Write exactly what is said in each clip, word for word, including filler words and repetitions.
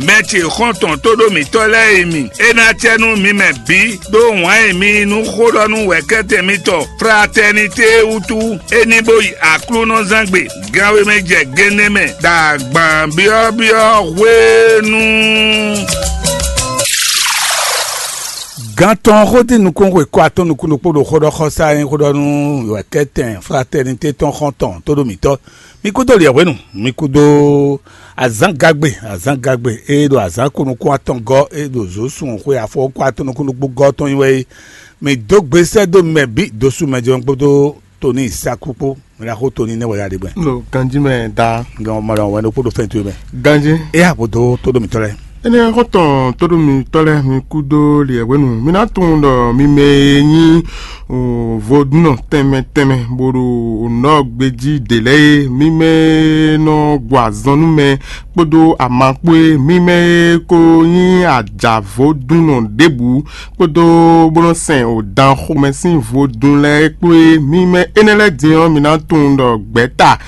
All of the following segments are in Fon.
Mɛ ce xɔ́ntɔn tóɖó mǐtɔn lɛ́ɛ e mi, é ná acɛ nú mi mɛ bǐ ɖó wǎn e mi yí nú xó ɖɔ nú wɛ̌kɛ́tɛn mitɔn Fratɛnité wútu, é ní bó yi Aklúnɔzángbe gánwé mɛ jɛ génɛ́ mɛ ɖo agban byɔ́byɔ́ hwenu. Gan tɔn xó dín nukún xwe kɔ atɔ́ nukún ɖokpó ɖo xó ɖɔ xɔsá e nyí xó ɖɔ nú wɛ̌kɛ́tɛn Fratɛnité tɔn xɔ́ntɔn tóɖó mǐtɔn. Mi kúdó liɛ̌hwenu, mi kúdó azǎngagbe, azǎngagbe e ɖo azǎn ko nukún atɔn gɔ́, e ɖo zǒ sun xwe afɔ ko atɔ́ nukún ɖokpó gɔ́ tɔn nyi wɛ é. Mi dó gbe sɛ́ dó mɛ bǐ dó sú mɛ jɛ́n kpódó Toni Saku kpó. Mi ná xó Toni nɛ́ wɛ ya ɖe gbɛn. Ɖo ganjí mɛ da. Gan mɔ ɖɔ wɛn ɖokpó ɖo fɛn towe mɛ. Ganjí. E ya bó dó tó ɖo mǐtɔn lɛ́ɛ. Énɛ́ xɔ́ntɔn tóɖómitɔ́ lɛ́ɛ, mi kúdó liɛ̌hwenu. Mi ná tunwun ɖɔ mi mɛ e nyí vodúnnɔ tɛnmɛ tɛnmɛ bó ɖo nɔ́ gbejí ɖě lɛ́ɛ é, mi mɛ e nɔ gbɔ azɔn nú mɛ kpódó ama kpó é, mi mɛ e ko nyí ajǎvodúnnɔ ɖěbǔ kpódó bó nɔ́ sɛn wǒdan xomɛ sín vodún lɛ́ɛ kpó é, mi mɛ énɛ́ lɛ́ɛ din ɔ́, mi ná tunwun ɖɔ gbɛ̌ta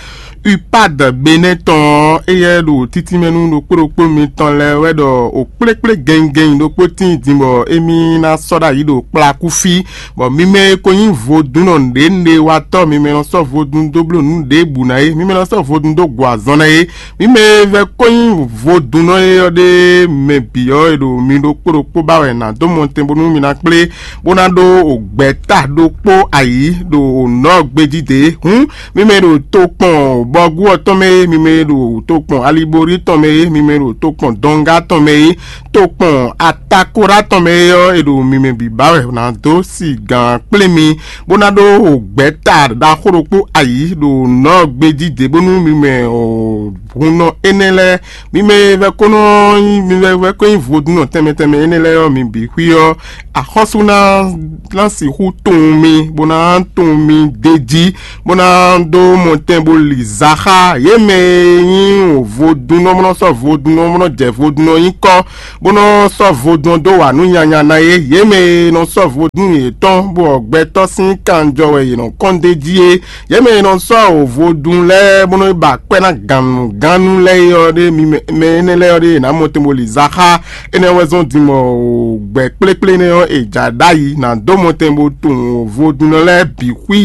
Upad Benɛ́ tɔn ɔ́, éyɛ́ ɖo títínmɛ nú ɖokpó ɖokpó mitɔn lɛ́ɛ wɛ ɖɔ o kplékplé gɛnnyigɛnnyi ɖokpó tíin din bɔ émí ná sɔ́ ɖ'ayǐ ɖo kplakú fí, bɔ mi mɛ e ko nyí vodúnnɔ nǔɖénúɖé watɔ́, mi mɛ nɔ sɔ́ vodún dó bló nǔ ɖěbǔ ná é, mi mɛ nɔ sɔ́ vodún dó gbɔ azɔn ná é, mi mɛ e vɛ́ ko nyí vodúnnɔ é ɔ́ ɖé mɛ bǐ ɔ́, è ɖo mi ɖokpó ɖokpó ba wɛ nǎ dó mɔtɛn bónú mi ná kplé, bó ná ɖó gbɛ̌ta ɖokpó ayǐ ɖo nɔ́ gbejí dě. Hǔn mi mɛ e ɖo tokpɔn bɔgú ɔ́ tɔn mɛ é, mi mɛ e ɖo tokpɔn aliborí tɔn mɛ é, mi mɛ e ɖo tokpɔn dɔngá tɔn mɛ é, tokpɔn atakorá tɔn mɛ é ɔ́, è ɖo mi mɛ bǐ ba wɛ nǎ dó sigǎn kplé mi, bó ná ɖó gbɛ̌ta ɖaxó ɖokpó ayǐ ɖo nɔ́ gbejí dě bónú mi mɛ hunnɔ énɛ́ lɛ́ɛ, mi mɛ e vɛ́ ko nɔ nyí mi vɛ́ vɛ́ ko nyí vodúnnɔ tɛnmɛ tɛnmɛ énɛ́ lɛ́ɛ ɔ́, mi bǐ xwí ɔ́, axɔ́sú ná ná sixú tunwun mi, bó ná tunwun mi d'é jí, bó ná dó mɔtɛn bó li za xá yě mɛ e nyí vodúnnɔ bó nɔ sɔ́ vodúnnɔ bó nɔ jɛ vodúnnɔ nyí kɔ́, bó nɔ sɔ́ vodún ɔ́ dó wa nǔ nyanya ná é. Yě mɛ e nɔ sɔ́ vodún yětɔn bó ɔ gbɛtɔ́ sín kanjɔ wɛ yě nɔ kɔn d'é jí é. Yě mɛ e nɔ sɔ́ vodún lɛ́ɛ bó nɔ yi ba akwɛ́ ná gannugánnu lɛ́ɛ é ɔ́ ɖé, mi mɛ mɛ énɛ́ lɛ́ɛ ɔ́ ɖé, è nǎ mɔ tɛn bó li za xá. Énɛ́ wɛ zɔ́n din bɔ gbɛ̌ kplékplé énɛ́ ɔ́, è jǎ ɖ'ayǐ ná dó mɔ tɛn bó tunwun vodúnnɔ lɛ́ɛ bǐ xwí.